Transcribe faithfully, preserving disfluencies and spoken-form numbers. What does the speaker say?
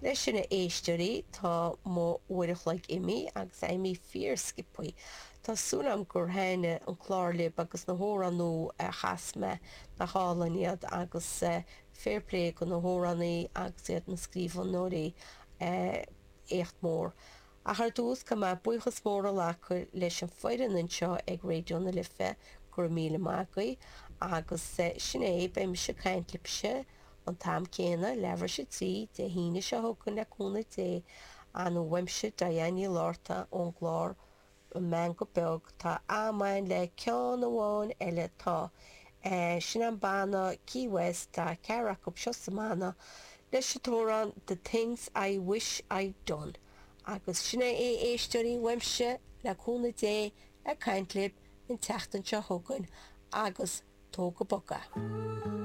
Leis sin a éisteoirí tá mo uair a chloig imithe agus é imithe fíor sciobtha. Tá súil agam gur thaitin an clár libh agus na hamhráin nua a chas mé nach álainn iad agus fair play go na hamhránaí agus iad na scríbhneoirí éacht mór. Ach ar dtús caithfidh mé buíochas mór a ghlacadh leis an foireann anseo ag Raidió na Life go raibh míle maith agaibh agus sin é beidh mise ag caint libhse an t-am céanna leathuair tar éis a trí Dé hAoine seo chugainn le cúnamh Dé an uaimse Diane Ní Lorta ón gclár an Meangadh Beag tá am againn le ceann amháin eile tá sin an banna Key West tá ceathrar acu seo sa mbanna leis an t-amhrán The Things I Wish I'd Done agus sin é é éisteoirí uaimse le cúnamh Dé ag caint libh an tseachtain seo chugainn agus tóg go bog é.